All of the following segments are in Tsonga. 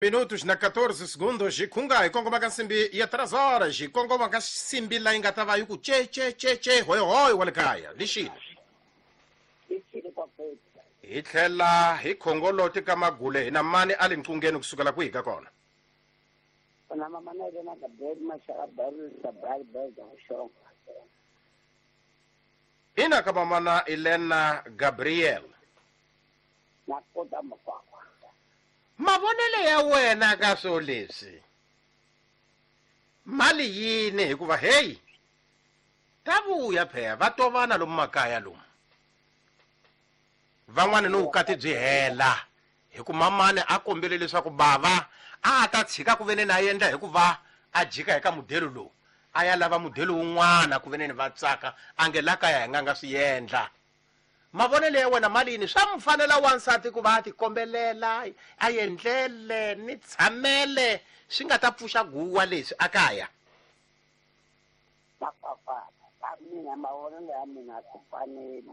Minutos na 14 segundos hi khunga hi kongoma ka nsimbi ya 3 horas hi kongoma ka nsimbi layi nga ta va yi ku che che che che hoy hoy wa le kaya lixile hi tlhela hi khongoloti ka magule hi na mani a le nqungeni kusukela kwihi ka kona na mama na yena Gabriel Mashaka Barisa Barberga Xonga ina ka mamana Elena Gabriel na kota makwakwa mavonelo ya wena ka swo leswi mali yini hikuva heyi ta vuya pheya va tovana lomu makaya lomu van'wani ni vukati byi hela hi ku mamani a kombele leswaku bava a ta tshika ku veneni a endla hikuva a jika hi ka mudelo lowu a ya lava mudelo wun'wana ku veneni va tsaka a nge la kaya hi nga nga swi endla mavonelo ya wena mali yini swa mu fanela wansati ku va a tikombelela a endlele ni tshamele swi nga ta pfuxa guwa leswi a kaya makwakwa ka mina mavonelo ya mina a swi faneli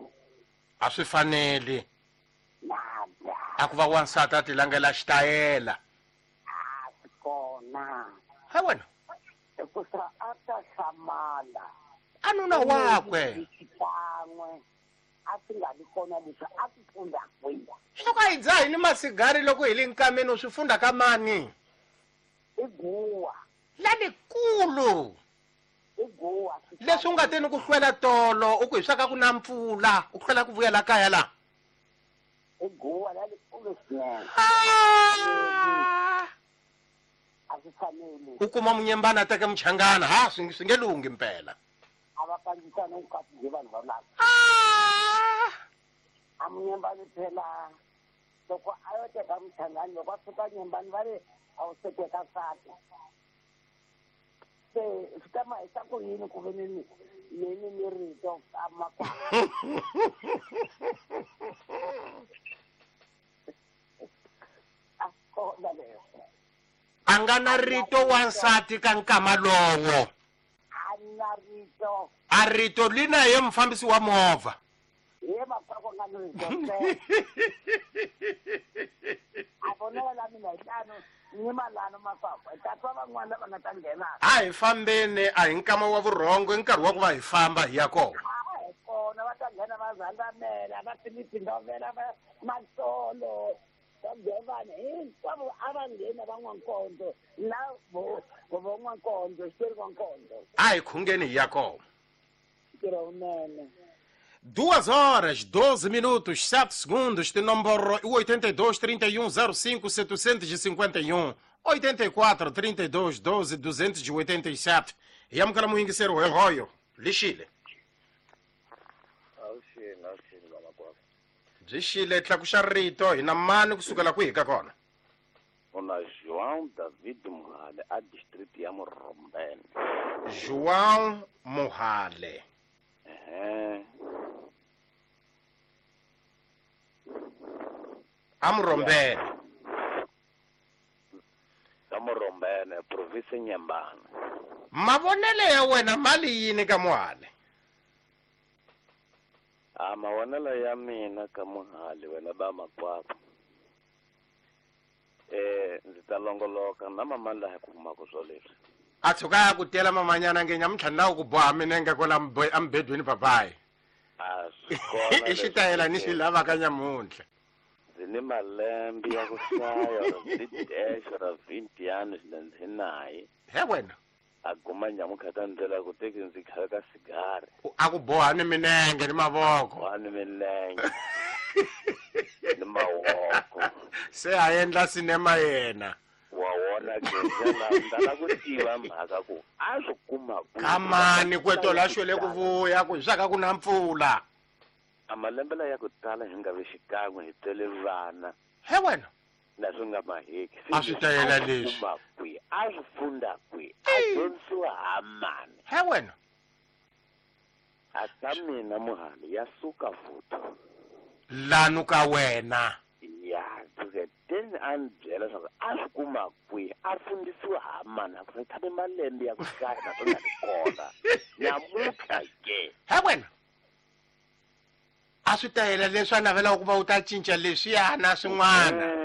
a swi faneli nada a ku va wansati a tilangela xitayela a swi kona ha wena hikusa a ta hlamala a nuna wakwe xikan'we a swi nga vi kona leswi a swi funda kwihi swa ku a hi dzahi ni masigari loko hi le nkameni u swi funda ka mani i guwa lalikulu i guwa leswi u nga teni ku hlwela tolo u ku hi swa ka ku na mpfula u hlwela ku vuyela kaya laha i guwa lalikulu swinene Ah! a swi faneli u kuma munyembana a teke muchangana ha swi swi nge lunghi mpela a va kandzisana vukati byi vanhu valava Ah! a munyembani phela loko a yo teka muchangani loko a fika nyembani va ri a wu se teka nsati se swi ta ma hisa ku yini ku ve ni ni ni rito ka makwakwa a swi kona leswo a nga na rito wansati ka nkama lowo a na rito a rito li na ye mufambisi wa movha ye makwakwa nga ni rito a vonela la mina hi tano ni malano makwakwa hi ta twa van'wana lava nga ta nghena a hi fambeni a hi nkama wa vurhongo i nkarhi wa ku va hi famba hi ya kona a hi kona va ta nghena va zandamela va filipindovela va masolo va hinkwavo a va nghena va n'wankondzo na vo vo n'wankondzo xitori n'wankondzo a hi khungeni hi ya kona ntirho wunene 2 horas 12 minutos 7 segundos tinomboro i 82 31 05 751 84 32 12 287 hi amukela muyingiseri hoyohoyo lixile Avuxeni, avuxeni vamakwavo. byi xile tlakuxa rito hi na mani kusukela kwihi ka kona Una João David Muhale a district ya Murombeni. João Muhale Ehe. a Murombeni Ka Murombeni, province Nyembani. mavonelo ya wena mali yini ka Muhale A mavonelo ya mina ka Muhale wena ba makwavo. Ndzi ta longoloka na mama laha ku humaka swo leswi. A tshuka ya ku tela mamanyana nge nyamuntlha ni lava ku boha minenge kwala emubedweni papayi. A swi kona I xitayela ni xi lavaka nyamuntlha. Ndzi ni malembe ya ku hlaya or ndzi dash or vintiyani ndzi naye. He wena. A guma nyamuntlha ta ndlela ku teki ndzi khale ka sigari. A ku boha ni minenge ni mavoko. Boha ni minenge. Ni mavoko. Se a endla sinema yena. Wa wona ke ndlela ndala ku tiva mhaka ku a swi kuma ku. Kamani kweto la xwele ku vuya ku swa ka ku na mpfula. A malembe la ya ku tala hi nga vi xikan'we hi tele vana. He wena. Na swi nga maheki. A swi tayela leswi. Kuma kwi, a swi funda kwi, a dyondzisiwa ha mani. He wena. A ka mina Muhale ya suka futhi. Lanu ka wena. Ya, suke teni a ni byela leswaku a swi kuma kwi, a fundisiwa ha mani, a ku se tshame malembe ya ku hlaya na swi nga ri kona. Namuntlha ke. He wena. A swi tayela leswi a navelaka ku va u ta cinca leswiyana swin'wana.